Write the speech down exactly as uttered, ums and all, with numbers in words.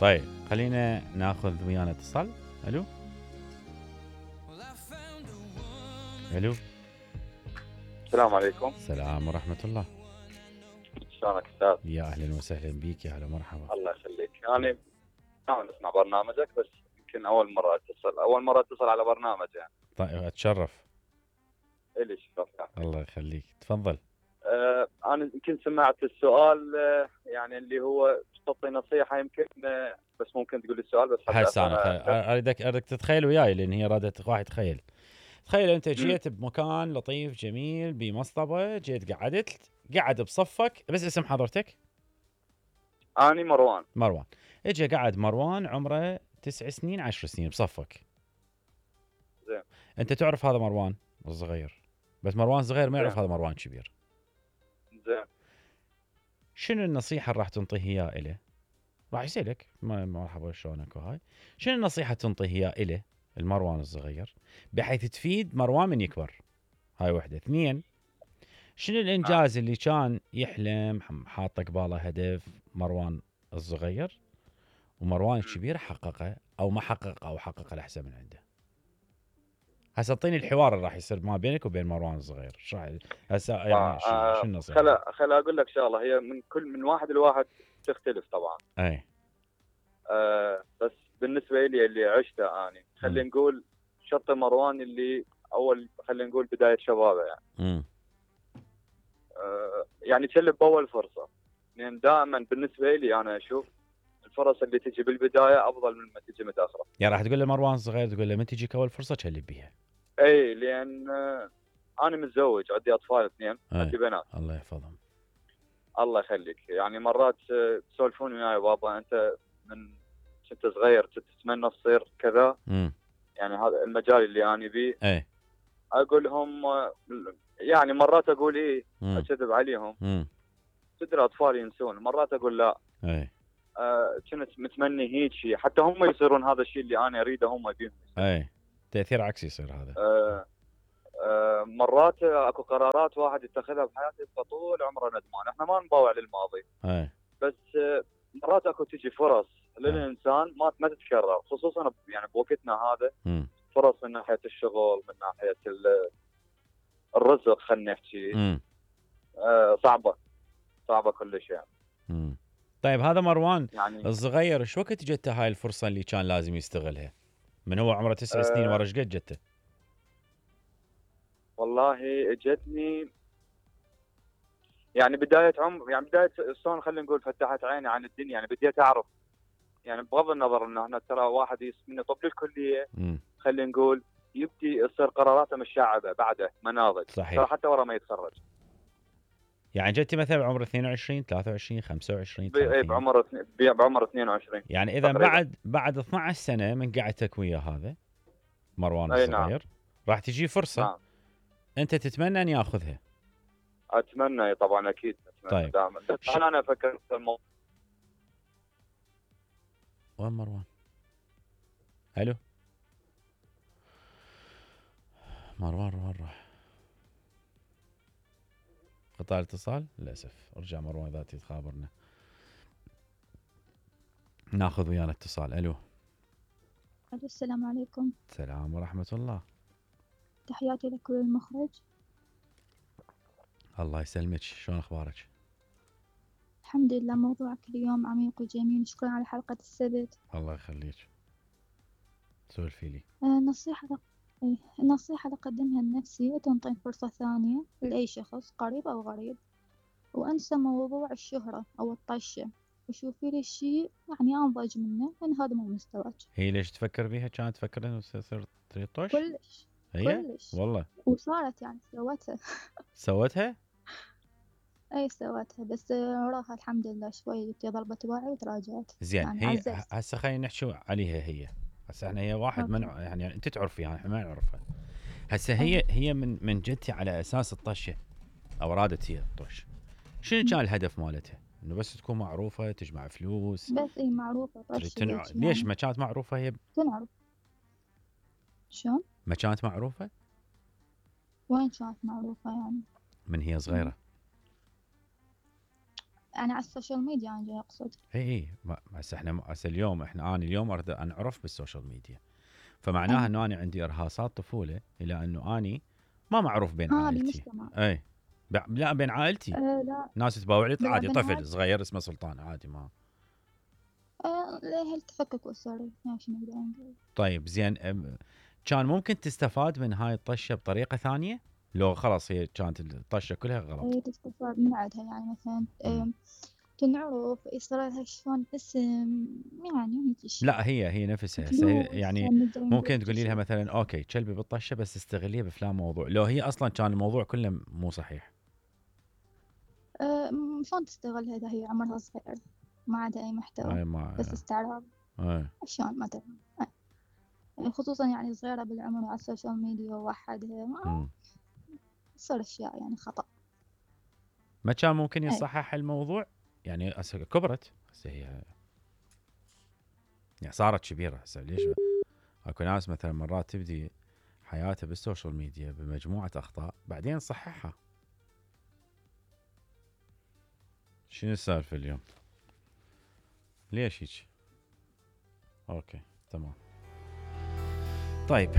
طيب خلينا ناخذ ويانا اتصال. الو الو السلام عليكم. السلام ورحمة الله. شلونك استاذ؟ يا اهلا وسهلا بيك، يا هلا مرحبا. الله يخليك. يعني نحن نسمع برنامجك بس يمكن اول مره اتصل اول مره اتصل على برنامج يعني. طيب اتشرف. الي شرف يعني. الله يخليك، تفضل. آه انا يمكن سمعت السؤال، آه يعني اللي هو تعطي نصيحه يمكن، آه بس ممكن تقول لي السؤال بس حتى هسه انا أنا خ- اريدك اريدك تتخيل وياي، لان هي رادت واحد تخيل. تخيل انت مم. جيت بمكان لطيف جميل بمصطبه، جيت قعدت قعد بصفك، بس اسم حضرتك؟ اني مروان. مروان. اجى قعد مروان عمره تسع سنين عشر سنين بصفك. زين. انت تعرف هذا مروان الصغير، بس مروان صغير ما يعرف زين. هذا مروان كبير. زين. شنو النصيحه اللي راح تنطيه اياه له؟ راح يسالك ما- مرحبا شلونك وهاي. شنو النصيحه تنطيه اياه له المروان الصغير بحيث تفيد مروان من يكبر؟ هاي وحده. اثنين، شنو الانجاز اللي كان يحلم حاطه قباله هدف مروان الصغير ومروان الكبير حققه او ما حققه او حققه الاحسن من عنده؟ هسه اعطيني الحوار اللي راح يصير ما بينك وبين مروان الصغير. ايش راح هسه يعني شو آه شو النصيحه؟ خل خل اقول لك شغله، هي من كل من واحد لواحد تختلف طبعا. اي. آه بس بالنسبه لي اللي عشته اني خلينا نقول شط مروان اللي اول خلينا نقول بدايه شبابه يعني. امم آه يعني تشلب باول فرصه، لان يعني دائما بالنسبه لي انا اشوف الفرص اللي تجي بالبدايه افضل من ما تجي متاخره. يعني راح تقول له مروان صغير، تقول له من تجيك اول فرصه تشلب بيها. اي لان آه انا متزوج، عندي اطفال اثنين، عندي بنات. الله يحفظهم. الله يخليك. يعني مرات آه، تسولفون وياي بابا انت من كنت صغير تتمنى تصير كذا. امم يعني هذا المجال اللي انا بيه. اي. اقول لهم آه، يعني مرات اقول ايه مم. اكذب عليهم. امم تدري اطفال ينسون، مرات اقول لا. اي. آه كنت متمني هيك شيء حتى هم يصيرون هذا الشيء اللي انا اريده هم بيهم. اي. تاثير عكسي يصير هذا. آه آه مرات اكو قرارات واحد يتخذها بحياته فطول عمره ندمان. احنا ما نباوع للماضي. اي. بس آه مرات اكو تجي فرص للانسان ما ما تتكرر، خصوصا يعني بوقتنا هذا. امم فرص من ناحيه الشغل، من ناحيه الرزق، خلينا نحكي. امم آه صعبه صعبه كلش يعني. امم طيب هذا مروان يعني الصغير ايش وقت جته هاي الفرصه اللي كان لازم يستغلها؟ من هو عمره تسع آه سنين ورا ايش قد جته؟ والله اجتني يعني بدايه عمر، يعني بدايه شلون خلينا نقول فتحت عيني عن الدنيا. يعني بديت اعرف، يعني بغض النظر انه احنا ترى واحد يسمينا طب للكليه امم خلينا نقول يبدي يصير قراراته مشعبه بعده مناضل. صحيح. ترى حتى ورا ما يتخرج. يعني جتي مثلا بعمر اثنين وعشرين ثلاثة وعشرين خمسة وعشرين ثلاثين. بعمر بعمر اثنين وعشرين. يعني اذا تقريبا. بعد بعد اثني عشر سنه من قعدتك ويا هذا مروان اي الصغير نعم. راح تجي فرصه. نعم. انت تتمنى ان ياخذها. اتمنى طبعا اكيد اتمنى. طيب. دائما بس ش... انا افكر في الموضوع. وين مروان؟ الو مروان وين راح؟ قطع الاتصال للاسف. ارجع مروان ذاتي تخابرنا. ناخذ ويانا اتصال. الو السلام عليكم. السلام ورحمه الله. تحياتي لكل المخرج. الله يسلمك، شلون اخبارك؟ الحمد لله، موضوعك اليوم عميق وجميل. شكرا على حلقة السبت. الله يخليك، سولفي لي. آه، نصيحة إيه، النصيحة اللي أقدمها لنفسي تنطي فرصة ثانية لأي شخص قريب أو غريب، وأنسى موضوع الشهرة أو الطشة، وشوفي لي شيء يعني أنضج منه، لأن هذا مو مستواك. هي ليش تفكر بيها؟ كانت تفكر انه تصير طش؟ كلش هي كلش والله وصارت يعني سوتها. سوتها. أي سوتها، بس وراها الحمد لله شوي جبتي ضربة وعي وتراجعت. زين. يعني هي عززت. هسه خلينا نحكي عليها. هي هسه احنا هي واحد من أوكي. يعني انت تعرفيها احنا ما نعرفها. هسه هي أي. هي من من جدتي على اساس الطشه او ارادت هي الطش. شنو كان الهدف مالتها؟ انه بس تكون معروفه تجمع فلوس. بس اي معروفة تريد طش تنع... هيك ليش يعني ما كانت معروفه هي؟ تنعرف. شلون؟ ما كانت معروفه وين كانت معروفة يعني؟ من هي صغيره. أنا على السوشيال ميديا أنا جاي أقصد. اي اي ما هسه احنا هسه اليوم احنا انا اليوم اريد انعرف بالسوشيال ميديا، فمعناها أي. انه انا عندي ارهاصات طفوله الى انه اني ما معروف بين ها عائلتي. بالمجتمع. اي ب- لا بين عائلتي أه لا ناس تباوع لي بالع- عادي، طفل بالعادة صغير اسمه سلطان عادي ما. أه ليه التفكك أسري يعني شو نقدر نقول. طيب زين أم، كان ممكن تستفاد من هاي الطشه بطريقه ثانيه لو خلاص هي كانت الطشه كلها غلط؟ أي تستفاد من عندها يعني مثلا مم. أه تنعرف يصير لها شلون اسم يعني هيك أشياء. لا هي هي نفسها هسه هي فلوس يعني نقدر نقول ممكن هيك تقولي لها أشياء. مثلا اوكي كلبي بالطشه بس استغليه بفلان موضوع، لو هي اصلا كان الموضوع كله مو صحيح. أه م- شلون تستغلها إذا هي عمرها صغير ما عندها أي محتوى اي ما بس استعراض اي شلون مثلا. أي. خصوصا يعني صغيرة بالعمر على السوشيال ميديا ووحدها ما مم. تصير أشياء يعني خطأ. ما كان ممكن أي. يصحح الموضوع؟ يعني هسه كبرت هسه هي يعني صارت كبيره هسه ليش اكو ناس مثلا مرات تبدي حياتها بالسوشيال ميديا بمجموعه اخطاء بعدين تصححها. شنو السالفه اليوم؟ ليش هيك؟ اوكي تمام. طيب